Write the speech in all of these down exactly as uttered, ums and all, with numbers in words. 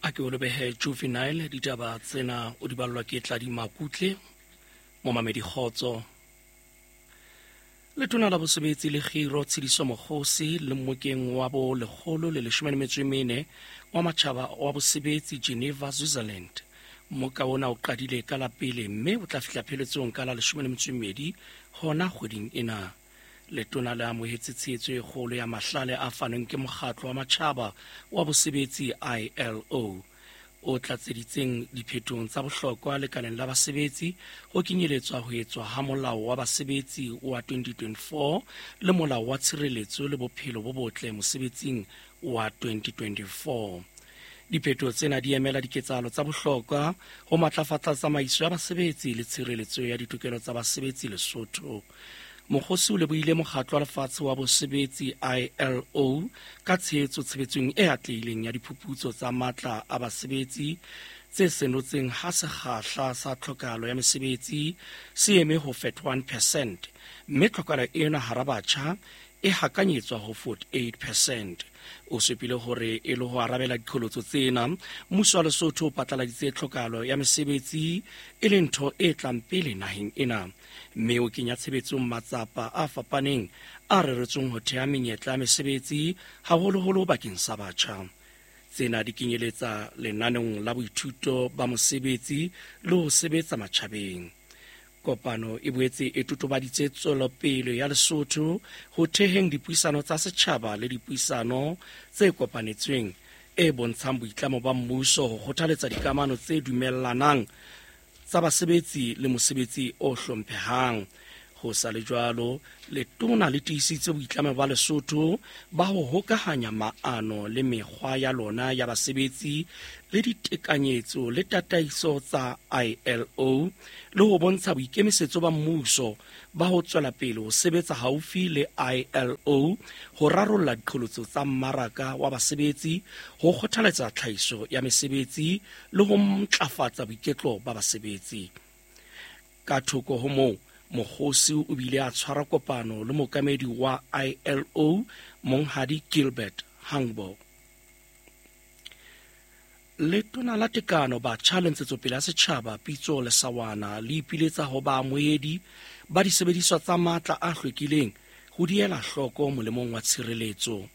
A ke o lebehe Juvenile. Ditaba tsena o di ballwa ke Tladi Makutle. Momamedi, kgotso. Letona la Bosebetsi le Kgiro, Tshediso Mokgosi, le mmokeng wa bo lekgolo le leshome le metso e mene wa matjhaba wa bosebetsi Geneva, Switzerland. Mmoka ona o qadile ka la pele mme o tla fihla pheletsong ka la leshome le metso e mmedi hona kgweding ena. Letona le amohetse tshehetso e kgolo ya mahlale a fanweng ke mokgatlo wa matjhaba wa bosebetsi, I L O, o tlatseditseng diphetong tsa bohlokwa lekaleng la basebetsi, ho kenyeletswa ho etswa ha Molao wa Basebetsi wa twenty twenty-four le Molao wa Tshireletso le Bophelo bo Botle Mosebetsing wa twenty twenty-four. Diphetho tsena di emela diketsahalo tsa bohlokwa ho matlafatsa tsamaiso ya basebetsi le tshireletso ya ditokelo tsa basebetsi Lesotho. Mokgosi o lebohile mokgatlo wa lefatshe wa bosebetsi, I L O, ka tshehetso tshebetsong e atlehileng ya diphuputso tsa matla a basebetsi tse senotseng ha sekgahla sa tlhokahalo ya mesebetsi se eme ho forty-one percent, mme tlhokahalo ena hara batjha e hakanyetswa ho forty-eight percent. O supile hore e le ho arabela diqholotso tsena, mmuso wa Lesotho o patlaladitse tlhokahalo ya mesebetsi e le ntho e tlang pele naheng ena, mme o kenya tshebetsong matsapa a fapaneng a reretsweng ho theha menyetla ya mesebetsi, haholoholo bakeng sa batjha. Tsena di kenyeletsa lenaneong la boithuto ba mosebetsi le ho sebetsa matjhabeng. Kopano e boetse e totobaditse tswelopele ya Lesotho ho theheng dipuisano tsa setjhaba le dipuisano tse kopanetsweng, e bontshang boitlamo ba mmuso ho kgothaletsa dikamano tse dumellanang tsa basebetsi le mosebetsi o hlomphehang. Ho sa le jwalo, letona le tiisitse boitlamo ba Lesotho ba ho hokahanya maano le mekgwa ya lona ya basebetsi le ditekanyetso le tataiso tsa I L O, le ho bontsha boikemisetso ba mmuso ba ho tswela pele ho sebetsa haufi le I L O ho rarolla diqholotso tsa mmaraka wa basebetsi, ho kgothaletsa tlhahiso ya mesebetsi le ho ntlafatsa boiketlo ba basebetsi. Ka thoko ho moo, Mokgosi o bile a tshwara kopano le mookamedi wa I L O, Monghadi Gilbert Houngbo. Letona la Tekano, Batjha le Ntshetsopele ya Setjhaba, Pitso Lesawana, le ipiletsa ho baamohedi ba disebediswa tsa matla a hlwekileng ho di ela hloko molemong wa tshireletso.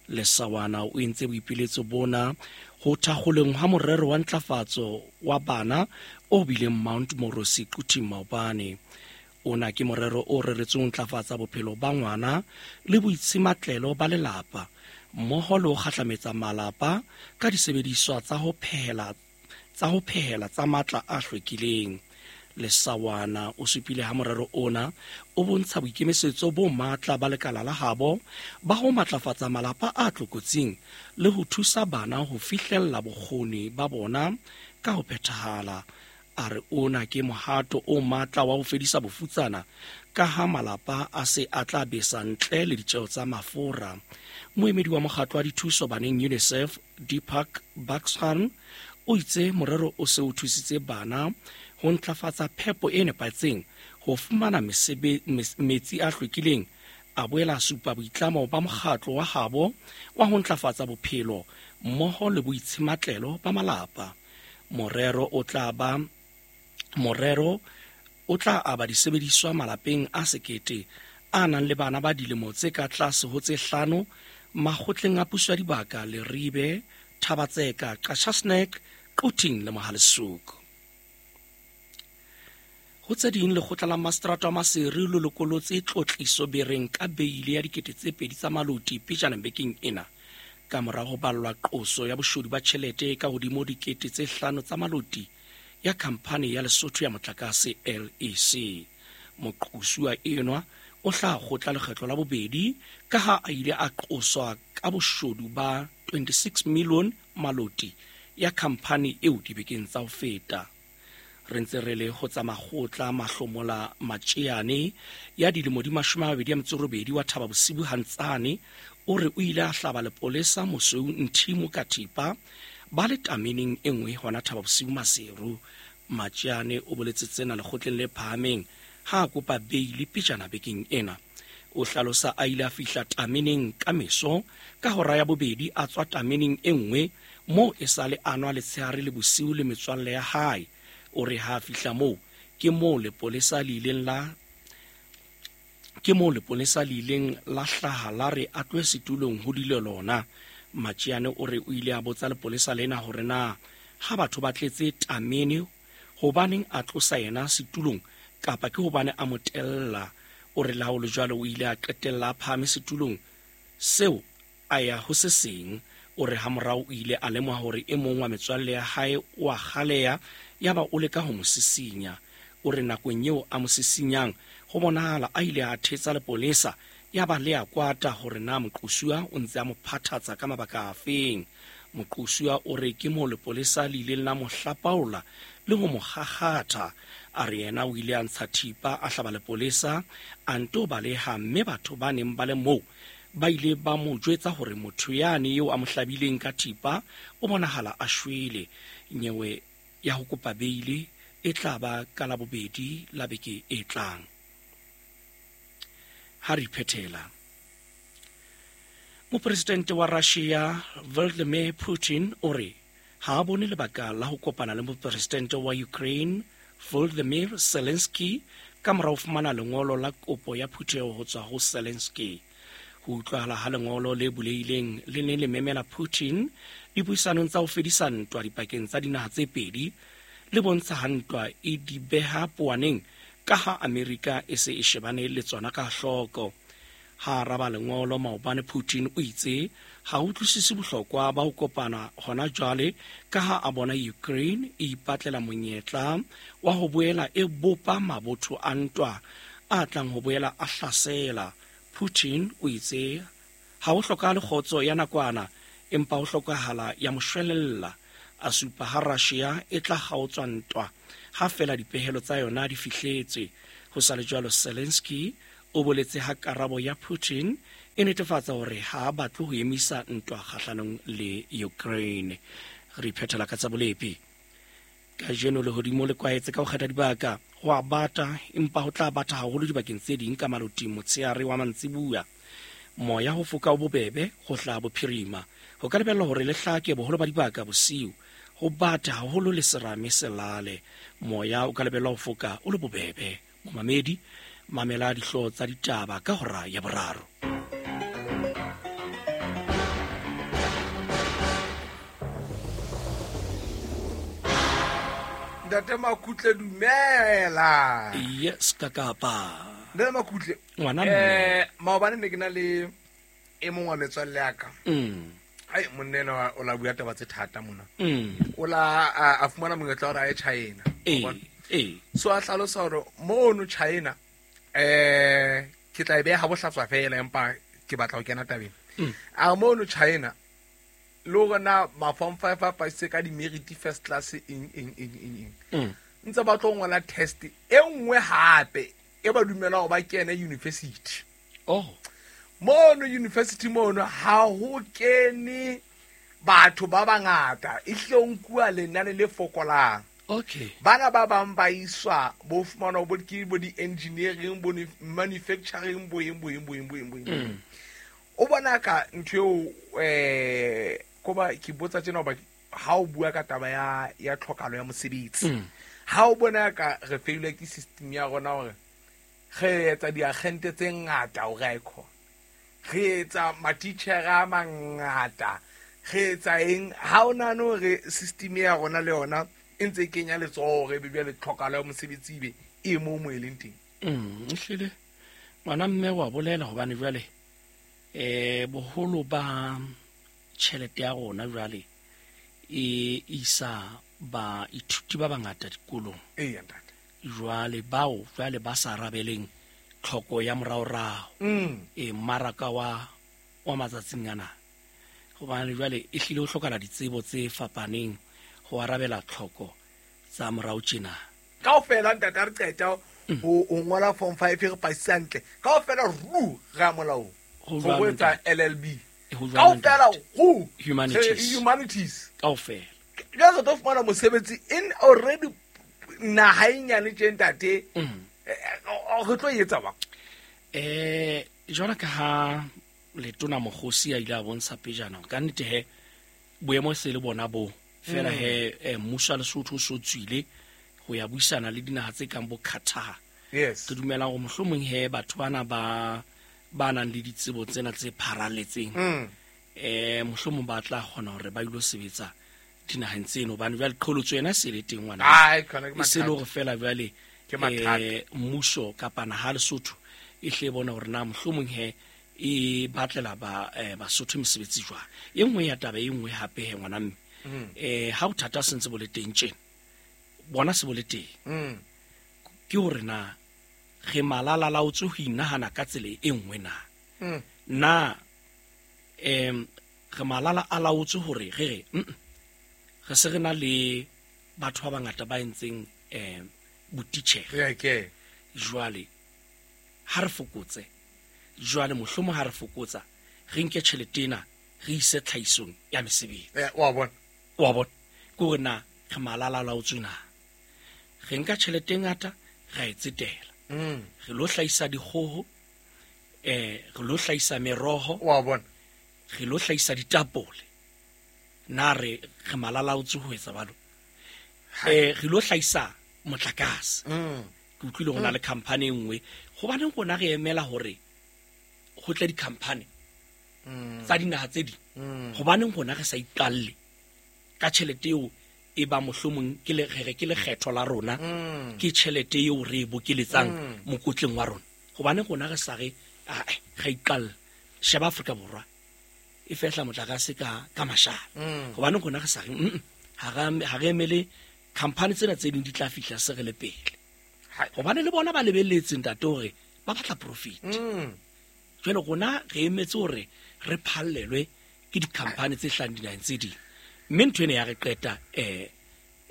Lesawana o entse boipiletso bona ho thakgoleng ha morero wa ntlafatso wa bana o bileng Mount Moorosi, Quthing, maobane. Ona ke morero o reretsweng ho ntlafatsa bophelo ba ngwana le boitshimatlelo ba lelapa, mmoho le ho kgahlametsa malapa ka disebediswa tsa ho phehela tsa ho phehela tsa matla a hlwekileng. Lesawana o supile ha morero ona o bontsha boikemisetso bo matla ba lekala la habo ba ho matlafatsa malapa a tlokotsing le ho thusa bana ho fihlella bokgoni ba bona ka ho phethahala. A re ona ke mohato o matla wa ho fedisa bofutsana, ka ha malapa a se a tla besa ntle le ditjeo tsa mafura. Moemedi wa mokgatlo wa dithuso baneng, UNICEF, Deepak Baxhan, o itse morero o se o thusitse bana ho ntlafatsa phepo e nepahetseng, ho fumana metsi a hlwekileng. A boela a supa boitlamo ba mokgatlo wa habo wa ho ntlafatsa bophelo mmoho le boitshimatlelo ba malapa. Morero o tla ba morero o tla aba disebediswa malapeng a sekete a nang le bana ba dilemo tse ka tlase ho tse hlano makgotleng a puso ya dibaka Leribe, Thaba-Tseka, Qacha's Nek, Quthing le Mohale's Hoek. Ho tse ding, lekgotla la maseterata wa Maseru le lokolotse Tlotliso Bereng ka beile ya dikete tse pedi tsa maloti pejana bekeng ena, ka mora ho ballwa qoso ya boshodu ba tjhelete ka hodimo dikete tse hlano tsa maloti ya khamphani ya Lesotho ya Motlakase, L E C. Moqosuwa enwa o hlaha kgotla lekgetlo la bobedi, ka ha a ile a qoswa ka boshodu ba twenty-six million maloti ya khamphani eo dibekeng tsa ho feta. Re ntse re le ho tsa makgotla, Mahlomola Matjeane ya dilemo di mashome a mabedi a metso robedi wa Thaba Bosibu Hantsane o re o ile a hlaba lepolesa Mosweu Nthimo ka thipa ba le tameneng e nngwe hona Thaba Bosiu, Maseru. Matjeane o boletse tsena lekgotleng le phahameng ha a kopa beile pejana bekeng ena. O hlalosa a ile a fihla tameneng ka meso ka hora ya bobedi, a tswa tameneng e nngwe Moo e sale a nwa letshehare le bosiu le metswalle ya hae. O re ha fihla moo ke moo lepolesa le ileng la ke moo lepolesa le ileng la hlaha la re a tlohe setulong ho dule lona. Matjiane o re o ile a botsa lepolesa lena hore na ha batho ba tletse tamene hobaneng a tlosa yena setulong kapa ke hobane a mo tella. O re le ha ho le jwalo o ile a qetella a phahame setulong seo a ya ho se seng. O re hamorao o ile a lemoha hore e mong wa metswalle ya hae o a kgaleha, yaba o leka ho mo sisinya. O re nakong eo a mo sisinyang ho bonahala a ile a thetsa lepolesa, yaba le a kwata hore na moqosuwa o ntse a mo phathatsa ka mabaka afeng. Moqosuwa o re ke moo lepolesa le ileng la mo hlapaola le ho mo kgakgatha. A re yena o ile a ntsha thipa a hlaba lepolesa a nto baleha, mme batho ba neng ba le moo ba ile ba mo jwetsa hore motho yane eo a mo hlabileng ka thipa o bonahala a shwele. Nyewe ya ho kopa beile e tla ba ka Labobedi la beke e tlang. Ha re phethela, Mopresidente wa Russia Vladimir Putin o re ha a bone lebaka la ho kopana le mopresidente wa Ukraine Volodymyr Zelensky ka mora ho fumana lengolo la kopo ya phutheho ho tswa ho Zelensky. Ho utlwahala ha lengolo le bulehileng le ne le memela Putin dipuisanong tsa ho fedisa ntwa dipakeng tsa dinaha tse pedi, le bontsha ha ntwa e di beha powaneng ka ha Amerika e se e shebane le tsona ka hloko. Ha araba lengolo maobane, Putin o itse ha utlwisise bohlokwa ba ho kopana hona jwale ka ha a bona Ukraine e ipatlela monyetla wa ho boela e bopa mabotho a ntwa a tlang ho boela a hlasela. Putin o itse ha ho hlokahale kgotso ya nakwana, empa ho hlokahala ya moshwelella. A supa ha Russia e tla kgaotswa ntwa ha fela dipehelo tsa yona di fihletswe. Ho sa le jwalo, Zelensky o boletse ha karabo ya Putin e netefatsa hore ha a batle ho emisa ntwa kgahlanong le Ukraine. Re phethela ka tsa bolepi. Kajeno lehodimo le kwahetse ka ho kgetha dibaka, ho a bata empa ho tla bata haholo dibakeng tse ding ka maloting motshehare wa mantsibuya. Moya ho foka o bobebe ho hlaha bophirima. Ho ka lebellwa hore le hlake boholo ba dibaka bosiu, ho bata haholo le serame se lale. Moya o ka lebellwa ho foka o le bobebe. Momamedi, mamela dihlooho tsa ditaba ka hora ya boraro. Ntate Makutle, dumela. Yes, kakapa. Ntate Makutle, ngwana eh maobane ne ke na le e mong wa metswalle ya ka. Mm. Ai monna enwa o la bua taba tse thata mona. Mm. O la a fumana monyetla hore a ye China. Eh, eh. So a hlalosa hore mono China eh ke tla e beha bohlatswa fela empa ke batla ho kena tabeng. Mm. A mono China le hore na ma form five a pasitse ka di-merit first class eng eng eng eng eng. Mm. Ntse ba tlo ngola test e nngwe hape e ba dumela hore ba kene university. Oh. Mono university mono ha ho kene batho ba bangata, e hle o nkuwa lenane le fokolang. Okay. Bana ba bang ba iswa bo fumana bo ke bo di-engineering, bo manufacturing, bo eng bo eng bo eng bo eng bo eng. Mm. O bona ka ntho eo eh koba ke botsa tjena hoba ha o bua ka taba ya ya tlhokalo ya mosebetsi. Mm. Ha o bona ka re failure ke system ya rona hore re etsa diagente tse ngata hore a e khona. Re etsa matitjhere a mangata, re etsa eng, ha o nahane hore system ya rona le yona e ntse e kenya letsoho hore ebe jwale tlhokalo ya mosebetsi ebe e moo mo e leng teng. Mm, ehlile ngwana mme wa bolela hobane jwale eh boholo ba tjhelete ya rona jwale e isa baithuti ba bangata dikolong. Eya, ntate. Jwale bao jwale ba sa arabeleng tlhoko ya moraorao. Mm. E mmaraka wa wa matsatsing ana. Hobane jwale e hlile ho hlokahala ditsebo tse fapaneng ho arabela tlhoko tsa morao tjena. Kaofela ntate ha re qeta ho ho ngola form five re pasisa hantle. Kaofela ru re a molaong. Ho Ho jwalo, etsa ntate. L L B. Ho jwalo, Kaofela ntate. ru. Humanities. Re humanities. Kaofela. Jwale re tlo fumana mosebetsi in already naha e nyane tje ntate. Mm. Eh, re tlo e etsa bang? Eh, jwalo ka ha letona Mokgosi a ile a bontsha pejana, ka nnete he Boemo se le bona bo fela he eh, mmuso wa Lesotho o so tswile ho ya buisana le dinaha tse kang bo Qatar. Yes. Re dumela hore mohlomong he batho bana ba ba nang le ditsebo tsena tse pharaletseng Mm. eh mohlomong ba tla kgona hore ba ilo sebetsa dinaheng tseno hobane jwale qholotso yena se le teng ngwana. Ai, khona ke E se le mathata. hore fela jwale Ke mathata. eh mmuso kapa naha Lesotho e hle bona hore na mohlomong he e batlela ba eh, Basotho mesebetsi jwang. E nngwe ya taba e nngwe hape he ngwana mme eh ha bothata se ntse bo le teng tjena bona se bo le teng Mm. ke hore na re malala laotswe ho inahana ka tsela e nngwe na Mm. na em re malala a laotswe hore re re mm, re se re na le batho ba bangata ba entseng em botitjhere Yeah, ke. jwale ha re fokotse jwale mohlomong ha re fokotsa re nke tjhelete ena re ise tlhahisong ya mesebetsi Eh, wa bona. wa bona ke hore na re malala laotswe na re nka tjhelete e ngata ra e tsetela Mm. re lo hlahisa dikgoho eh re lo hlahisa meroho Wa bona. re lo hlahisa ditapole na re re malalaotswe ho etsa jwalo eh re lo hlahisa motlakase Mm. ke utlwile ho na le company e nngwe hobaneng rona re emela hore ho tle di-company Mm. tsa dinaha tse ding Mm. hobaneng rona re sa iqalle ka tjhelete eo e ba mohlomong ke le re re ke lekgetho la rona Mm. ke tjhelete eo re e bokeletsang Mm. mokotleng wa rona hobane rona re sa re ae ra iqalla sheba Afrika Borwa e fehla motlakase ka ka mashala Mm. hobane rona re sa re mm, ha ra- ha re emele company tsena tse ding di tla fihla se re le pele Hai. hobane le bona ba lebelletse ntate hore ba batla profit Mm. jwale rona re emetse hore re phallelwe ke di-company tse hlahang dinaheng tse ding mme ntho ena ya re qeta eh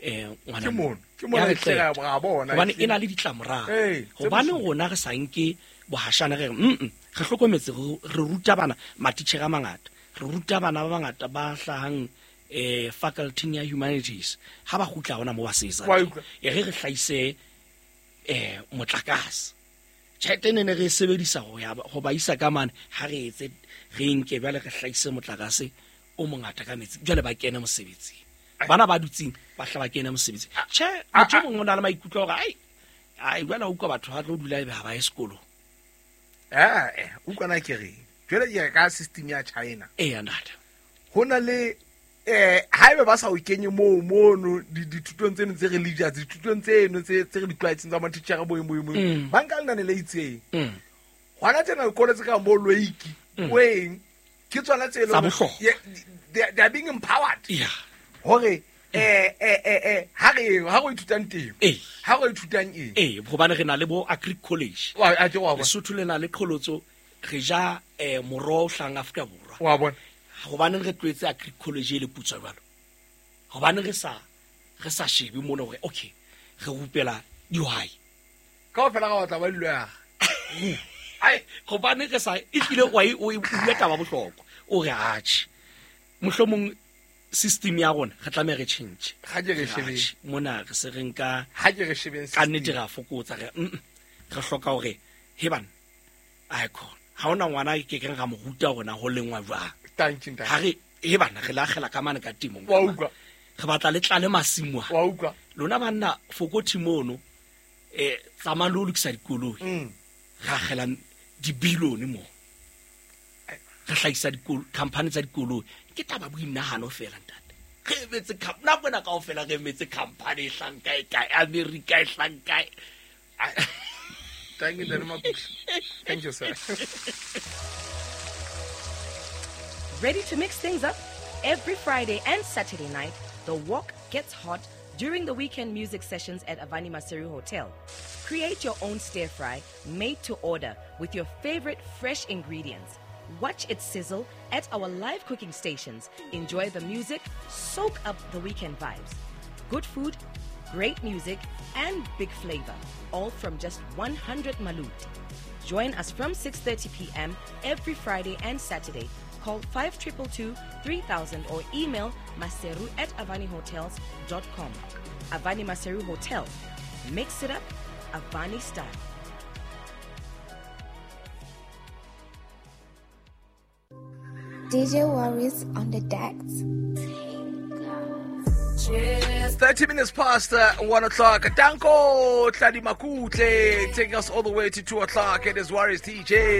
eh ngwana Ke mme. mono, ke mono Ya re e hle qeta. ra bona, hobane ehlile. e na le ditlamorao Ee, tse hobane bosula. rona re sa nke bohashana re re mm re hlokometse re re ruta bana matitjhere a mangata re ruta bana ba bangata ba hlahang eh faculty ya humanities ha ba kgutla hona mo ba sebetsang Wa teng. utlwa. E re re hlahise eh motlakase tjhelete ne ne re e sebedisa ho ya ho ba isa ka mane ha re etse re nke jwale re hlahise motlakase o mongata ka metsi jwale ba kene mosebetsing bana ba dutseng ba hla ba kene mosebetsing tjhe motho o mongwe o na le maikutlo a hore ai ai jwale ha utlwa batho ba tlo dula ebe ha ba ye sekolong Eh, eh, utlwana ke reng. Jwale ke re ka system ya China. eya ntate Ho na le eh haebe ba sa o kenye moo mono di- dithutong tseno tse religious dithutong tseno tse tse re di tlwaetseng tsa matitjhere bo eng bo eng bo eng Mm. ba nka lenane le itseng Mm. hona tjena dikolo tse kang bo Loiki Mm. o eng ke tsona tse e leng Tsa hore- bohlokwa. Ye- they they are being empowered ya hore eh eh eh eh ha re ha re ithutang temo Ee. ha re ithutang eng ee hobane re na le bo agri college wa a ke wa bona Lesotho le na le qholotso re ja eh moroho o hlahang Afrika Borwa wa bona hobaneng re tlohetse agri college e le putswa jwalo hobaneng re sa re sa shebe mona hore okay re rupela dihwai kaofela ga batla ba dilwega ai hobane re sa e tlile wa e o e bua taba bohlokwa o re atjhe mohlomong system ya rona re tlameha re change ga ke re shebeng Atjhe, mona re se re nka ha ke re shebeng ka nnete re a fokotsa re mm, mm, re hloka hore he bana ai khona ha hona ngwana ke keng ra mo ruta hore na ho lengwa jwang thank you ha re he bana re la akgela ka mane ka temong wa utlwa re batla le tlale masimo a wa utlwa lona banna fokothi mono eh tsamayang le ho lokisa dikoloi mm re akgela dibilione moo re hlahisa dikolo company tsa dikoloi ke taba boinahano fela ntate re emetse com- nako ena kaofela re emetse company e hlang kae kae America e hlang kae thank you Ntate Makusha. Thank you sir. Ready to mix things up? Every Friday and Saturday night, the walk gets hot during the weekend music sessions at Avani Maseru Hotel. Create your own stir fry made to order with your favorite fresh ingredients. Watch it sizzle at our live cooking stations. Enjoy the music, soak up the weekend vibes. Good food, great music, and big flavor, all from just one hundred malut. Join us from six thirty p m every Friday and Saturday. Call five two two two, three thousand or email maseru at avani hotels dot com. Avani Maseru Hotel. Mix it up, Avani style. D J Warriors on the decks. thirty minutes past uh, one o'clock. Danko Tladi Makutle taking us all the way to two o'clock. It is Warriors D J.